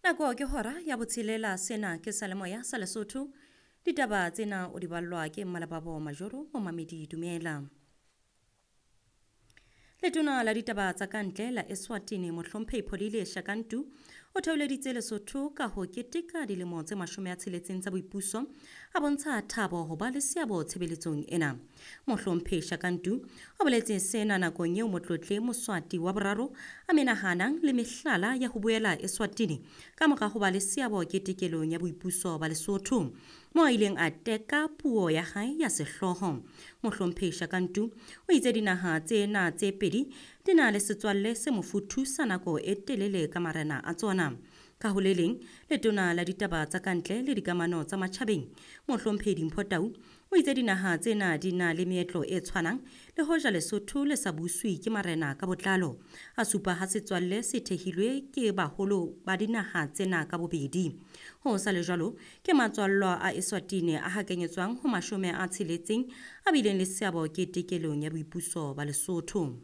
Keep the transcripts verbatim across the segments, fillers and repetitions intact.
Nako ke hora ya botshelela, sena ke Salemoya sa Lesotho. Ditaba tsena o di ballwa ke Mmalababo Majoro, momamedi dumela. Letona la ditaba tsa kantle la Eswatini Mohlomphehi Pholile Shakantu o theoleditse Lesotho ka ho keteka dilemo tse mashome a tsheletseng tsa boipuso, a bontsha thabo ho ba le seabo tshebeletsong ena. Mohlomphehi Shakantu o boletse sena nakong eo motlotle Moswati wa boraro a menahanang le mehlala ya ho boela Eswatini ka mora ho ba le seabo ketekelong ya boipuso ba Lesotho, mo a ileng a teka puo ya hae ya sehlooho. Mohlomphehi Shakantu o itse dinaha tsena tse pedi di na le setswalle se mofuthu sa nako e telele ka marena a tsona. Ka ho le leng, letona la ditaba tsa kantle le dikamano tsa matjhabeng Mohlomphehi Dimpho Tau o itse dinaha tsena di na le meetlo e tshwanang le hoja Lesotho le sa buswe ke marena ka botlalo. A supa ha setswalle se thehilwe ke baholo ba dinaha tsena ka bobedi. Ho sa le jwalo, ke matswallwa a Eswatini a hakanyetswang ho mashome a tsheletseng a bileng le seabo ketekelong ya boipuso ba Lesotho.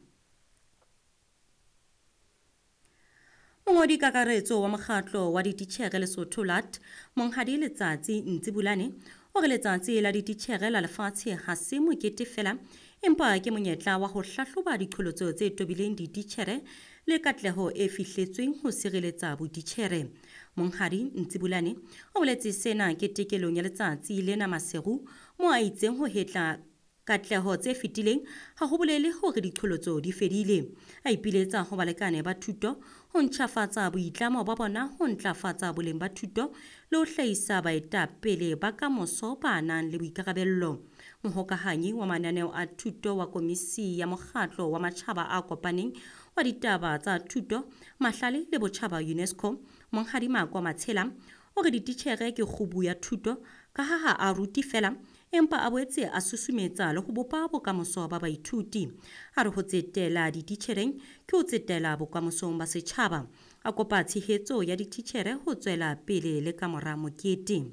Mongodi kakaretso wa mokgatlo wa dititjhere Lesotho L A T, Monghadi Letsatsi Ntsibulane, o re letsatsi la dititjhere la lefatshe ha se mokete fela, empa ke monyetla wa ho hlahloba diqholotso tse tobileng dititjhere le katleho e fihletsweng ho sireletsa botitjhere. Monghadi Ntsibulane o boletse sena ketekelong ya letsatsi lena Maseru, mo a itseng ho hetla katleho tse fetileng ha ho bolele hore diqholotso di fedile. A ipiletsa ho balekane ba thuto ho ntjhafatsa boitlamo ba bona ho ntlafatsa boleng ba thuto le ho hlahisa baetapele ba kamoso ba nang le boikarabello. Mohokahanyi wa mananeo a thuto wa Komisi ya Mokgatlo wa Matjhaba a Kopaneng wa Ditaba tsa Thuto, Mahlale le Botjhaba UNESCO, Monghadi Makwa Matshela, o re dititjhere ke kgubu ya thuto ka ha ha a rute fela, empa a boetse a susumetsa le ho bopa bokamoso ba baithuti. A re ho tsetela dititjhereng ke ho tsetela bokamosong ba setjhaba. A kopa tshehetso ya dititjhere ho tswela pele le kamora mokete.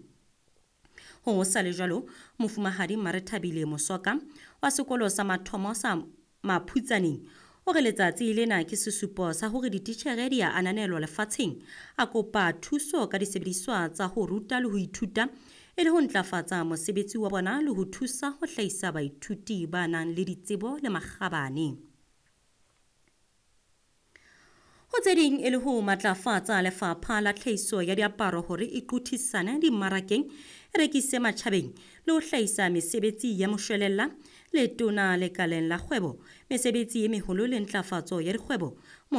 Ho sa le jwalo, Mofumahadi Marethabile Mosoka wa sekolo sa mathomo sa Maphutsaneng o re letsatsi lena ke sesupo sa hore dititjhere di a ananelwa lefatsheng. A kopa thuso ka disebediswa tsa ho ruta le ho ithuta e le ho ntlafatsa mosebetsi wa bona le ho thusa ho hlahisa baithuti ba nang le ditsebo le makgabane. Ho tse ding e le ho matlafatsa lefapha la tlhahiso ya diaparo hore e qothisane dimmarakeng, e rekise matjhabeng le ho hlahisa mesebetsi ya moshwelella, letona lekaleng la kgwebo, mesebetsi e meholo le ntlafatso ya dikgwebo,